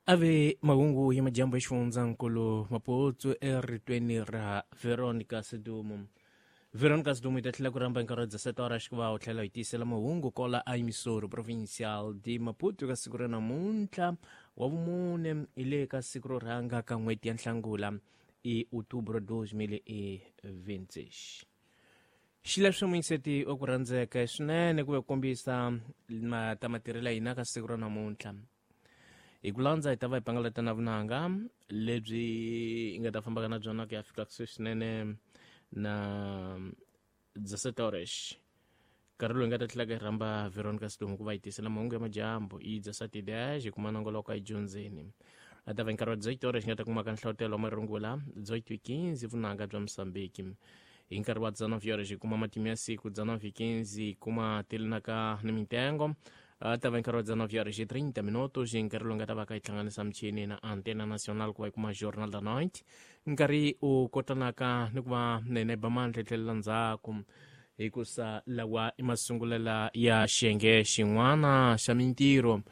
Ave mahungu ya majambu ya xifundzankulu Maputo eritweni ra Veronica Sidumo. Veronica Sidumo yi ta tlhela ku rhamba nkarhi wa 17 horas ku va u tlhela hi tiyisela mahungu kola a Emissoro Provincial de Maputo ka siku ra namuntlha wa vumune hi le ka siku ro rhanga ka n'hweti ya Nhlangula i Outubro 2026. Xileswo muyingiseti wa ku rhandzeka swinene ku va kombisa ta matirhelo ya hina ka siku ra namuntlha. Hi ku landza hi ta va hi pangalata na vunanga lebyi hi nga ta fambaka na byona ku ya fika kusuhi swinene na 17 horas. Nkarhi lowu hi nga ta tlhela hi rhamba Veronica Sidumo ku va hi tisela mahungu ya madyambu i 17:10 hi kuma nongoloko a hi dyondzeni. A ta va hi nkarhi wa 18 horas hi nga ta kumaka nhlavutelo wa marungula 18:15 vunanga bya Mozambique. Hi nkarhi wa 19 horas hi kuma matimu ya siku 19:15 hi kuma tilinaka ni mintengo. A ta va nkarhi wa 19 horas e 30 minutos hi nkarhi lowu nga ta va ka yi hlanganisa michini na Antena Nacional ku va yi kuma Jornal da Noite. Nkarhi u kotanaka ni ku va nene ba mandla tlhelela ndzhaku hikusa lawa i masungulela ya xiyenge xin'wana xa mintirho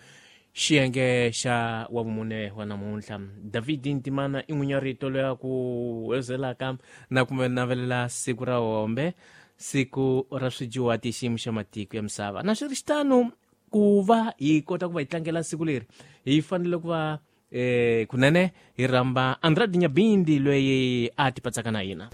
xiyenge xa wa vumune wa namuntlha. David Ntimana i n'winya rito loyi a ku wezelaka na ku navelela siku ra hombe siku ra swijuwati xiyimo xa matiko ya misava. Na swi ri xitano ku va hi kota ku va hi tlangela siku leri hi fanele ku va kunene hi rhamba Andrade Nyabindi loyi a tipatsaka na hina.